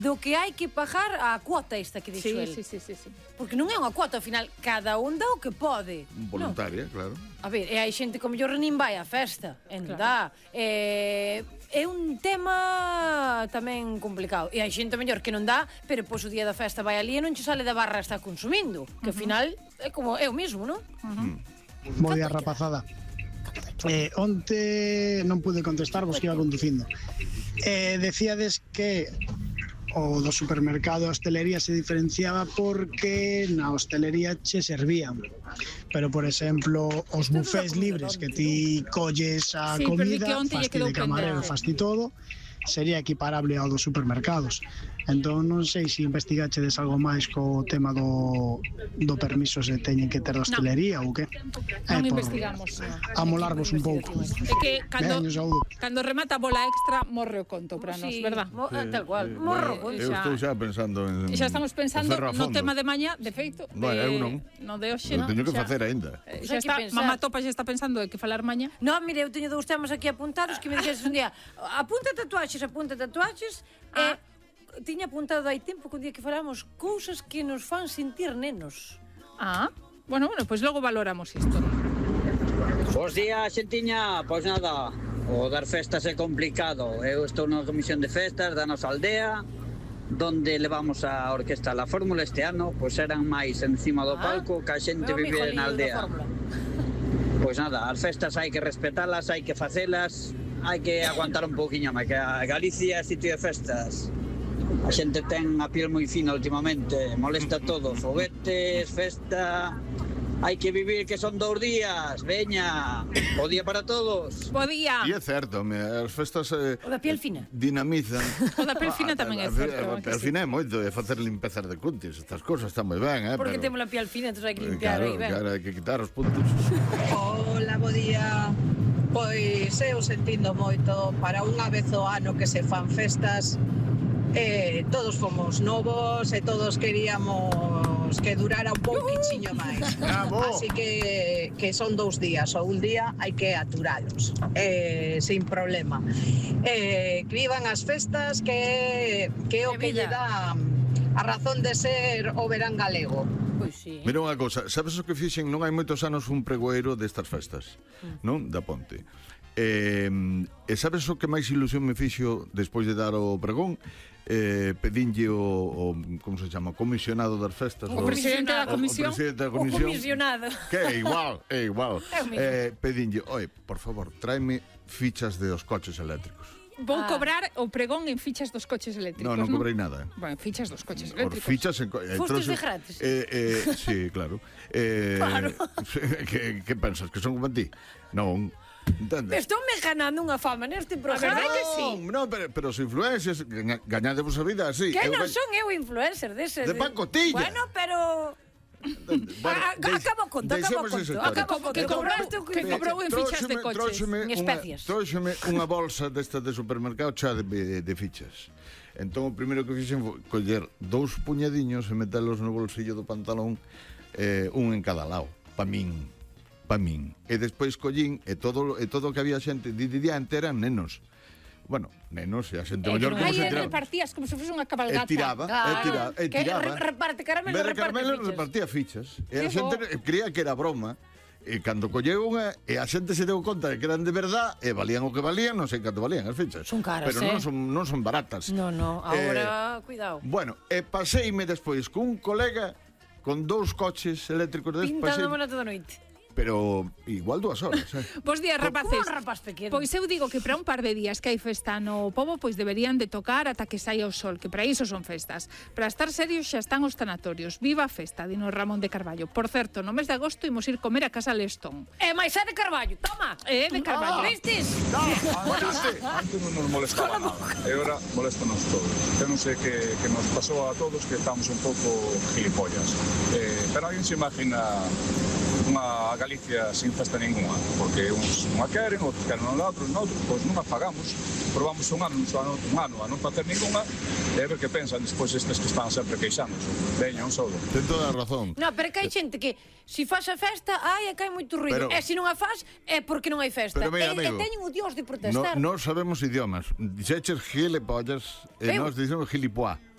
do que hai que pagar a cuota esta que dixo el. Sí. Porque non é unha cuota, ao final, cada un dá o que pode. Voluntaria, claro. A ver, e hai xente que ao mellor nin vai á festa, e non dá. É un tema tamén complicado. E hai xente mellor que non dá, pero pois o día da festa vai ali e non che sale da barra está consumindo. Que ao final é como é o mismo, non? Bo día, rapazada. Onte non pude contestar, vos que iba conducindo. Decíades que o do supermercado a hostelería se diferenciaba porque na hostelería che servían, pero por exemplo os bufés libres que ti colles a comida, fasti de camarero, fasti todo, sería equiparable ao dos supermercados. Entón non sei se investigachedes algo máis co tema do permiso se teñen que ter da hostelería ou que. Non investigamos. Amolarvos un pouco. É que cando remata a bola extra morre o conto para nós, verdad? Tal cual, morro. Eu estou xa pensando en... Xa estamos pensando no tema de mañá, de feito. Eu non. No de hoxe. Teño que facer aínda. Xa está, mamá Topa xa está pensando de que falar mañá. Non, mire, eu teño dous temas aquí apuntados que me dixeses un día, apunta tatuaxes, e tiña apuntado hai tempo que un día que falamos cousas que nos fan sentir nenos. Bueno, pois logo valoramos isto. Bos días, xentiña. Pois nada, o dar festas é complicado. Eu estou na comisión de festas da nosa aldea, donde levamos a orquesta La Fórmula este ano, pois eran máis encima do palco que a xente vivía na aldea. Pois nada, as festas hai que respetalas, hai que facelas, hai que aguantar un pouquiño máis, que a Galicia é sitio de festas. A xente ten a piel moi fina últimamente, molesta todo, foguetes, festa. Hai que vivir que son 2 días, veña. Bo día para todos. Bo día. E é certo, as festas o da piel fina dinamizan. O da piel fina tamén é certo. A piel fina é moito, é facer limpezas de cuntis, estas cousas están moi ben, porque temos a piel fina, entón hai que limpiar aí ben. Claro, hai que quitar os puntos. Hola, bo día. Pois eu sentindo moito para unha vez ao ano que se fan festas. Todos fomos novos e todos queríamos que durara un pouquichiño máis. Así que son 2 días ou un día hai que aturalos sin problema. Que vivan as festas, que é o que lle dá a razón de ser o verán galego. Pois sí. Mira unha cousa, sabes o que fixen? Non hai moitos anos un pregoeiro destas festas, non? Da Ponte. E sabes o que máis ilusión me fixo despois de dar o pregón? Pedinlle o como se chama, comisionado das festas, o presidente da comisión, o comisionado, que é igual. Pedinlle, oi, por favor, tráeme fichas de os coches eléctricos. Vou cobrar o pregón en fichas dos coches eléctricos. Non cobrei nada. Bueno, fichas dos coches eléctricos. Fichas Fostes de gratis. Sí, claro. Claro. Que pensas, que son como a ti? Non. Estou me ganando unha fama neste programa. A verdade que sí. Non, pero os influencers gañadevos a vida así. Que non son eu influencer deses. De pacotilla. Bueno, pero... Acabo conto. Que cobrou en fichas de coches. En especias. Trouxeme unha bolsa desta de supermercado chea de fichas. Entón o primeiro que fixen foi coller 2 puñadiños e metelos no bolsillo do pantalón, un en cada lado, pa min. E despois collín e todo o que había xente diante eran nenos. Bueno, nenos e a xente maior como se tiraba. Repartías como se fose unha cabalgata. E tiraba. Reparte caramelo, repartía fichas. E a xente creía que era broma. E cando colleu unha, e a xente se deu conta de que eran de verdad, e valían o que valían, non sei canto valían as fichas. Son caras, pero non son baratas. Non, agora, cuidado. Bueno, e paseime despois cun colega con 2 coches eléctricos pintando bona toda noite. Pero igual 2 horas. Bos días, rapaces. Un rapaz pequeno. Pois eu digo que para un par de días que hai festa no pobo, pois deberían de tocar ata que saia o sol, que para iso son festas. Para estar serios xa están os tanatorios. Viva a festa, dino Ramón de Carballo. Por certo, no mes de agosto imos ir comer a casa Lestón. Mais é de Carballo, toma. É de Carballo. Vistes? Antes non nos molestaba nada. E agora moléstanos todos. Eu non sei que nos pasou a todos que estamos un pouco gilipollas. Pero alguén se imagina unha Galicia sin festa ninguna, porque uns non a queren, outros queren outros pois non a pagamos, probamos un ano a non facer ninguna, e a ver que pensan despois estes que están sempre queixándose. Veña, un saúdo. Ten toda a razón. Non, pero que hai xente que se faz a festa, é que hai moito ruido, e se non a faz, é porque non hai festa. Mira, e teñen o dios de protestar. Non sabemos idiomas. Dixeches gilipollas, e nós dicemos gilipoá.